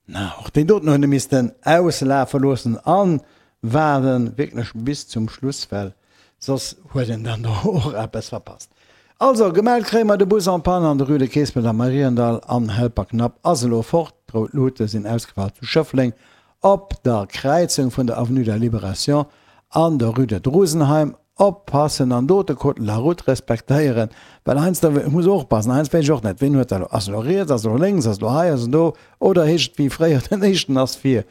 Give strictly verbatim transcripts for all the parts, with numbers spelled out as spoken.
Na, och deen doten hunn e missten auslafe loossen an waarden wierklech bis zum Schluss, well soss huet een dann do och eppes verpasst. Also, gemellt kréie mer de Bus en panne an der Rue de Keespelt am Mariendall an Helperknapp ass elo fort. D'rout Luute sinn ausgefall zu Schëffleng op der Kräizung vun der Avenue de la Libération an der Rue de Drusenheim. Oppassen an do de Code de la route respektéieren, well heiansdo, ech muss och oppassen, heiansdo weess ech och net, ween huet dat elo, ass elo riets, ass elo lénks, ass elo hei, ass elo do, oder heescht et wéi fréier, den éischten ass vir.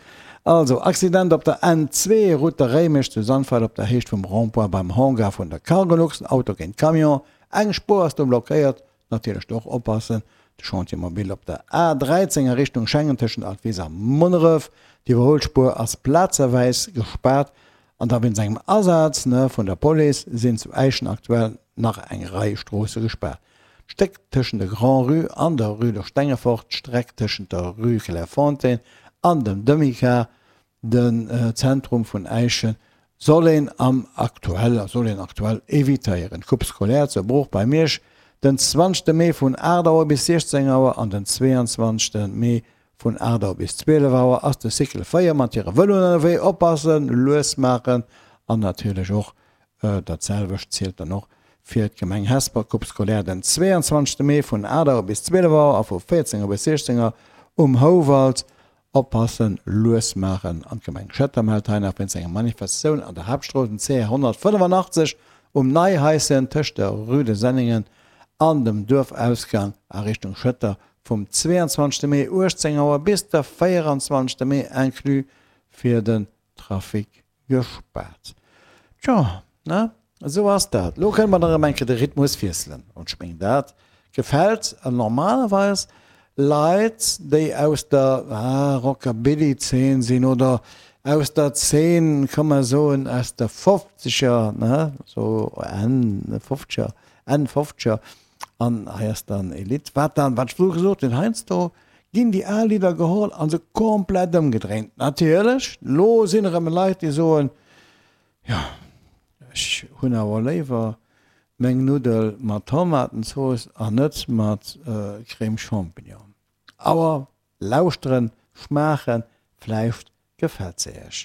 Also, Accident op der N zwee, Route de Réimech zu Sandweiler op der Héicht vum Rond-point beim Hangar vun der Cargolux, Auto géint Camion, eng Spuer ass do blockéiert, natierlech do och oppassen, de Chantier mobile op der A dräizéng a Richtung Schengen tëschent Altwis a Munneref, d'Iwwerhuelspuer ass plazeweis gespaart an da wéinst engem Asaz vun der Police sinn zu Äischen aktuell nach eng Rei Stroosse gespaart. D'Stéck tëschent der Grand-Rue an der Rue de Stengefort, d'Streck tëschent der Rue Clairefontaine an dem Demica, den Zentrum vun Äischen, soll een am aktuell soll een aktuell evitéieren. D'Coupe scolaire zu Bruch bei Miersch den zwanzegste Mee vun aacht Auer bis siechzéng Auer an den zweeanzwanzegste Mee vun aacht Auer bis zwielef Auer ass de Cycle véier mat hire Vëloen ënnerwee. Oppassen, lues maachen an natierlech och dat selwecht zielt dann och fir d'Gemeng Hesper. Coupe scolaire den zweeanzwanzegste Mee vun aacht Auer bis zwielef Auer a vu véierzéng Auer bis siechzéng Auer um Houwald. Oppassen, lues maachen an d'Gemeng Schëtter mellt hei nach wéinst enger Manifestatioun an der Haaptstrooss den C honnertfënnefannachtzeg um Neihaischen tëscht der Rue de Senningen an dem Duerfausgang a Richtung Schëtter vum zweeanzwanzegste Mee uechtzéng Auer bis de véieranzwanzegste Mee inclus fir den Trafic gespaart. Tjo, ne? Esou ass dat. Lo kënne mer dann erëm eng Kéier de Rhythmus wiesselen. An ech mengen, dat gefält normalerweis Leit, déi aus der Rockabilly-Zeen sinn oder aus der Zeen, ka mer soen, aus de Fofzeger, ne, sou Enn Fofzeger, Enn Fofzeger. An hei ass dann e Lidd, wat dann, wat ech virdru gesot hunn, heiansdo ginn déi al Lidder geholl a se komplett ëmgedréint. Natierlech, lo sinn erëm Leit, déi soen, jo, ech hunn awer léiwer meng Nuddel mat Tomatenzooss an net mat Crème Champignon. Awer lauschteren, schmaachen, vläicht gefält se iech.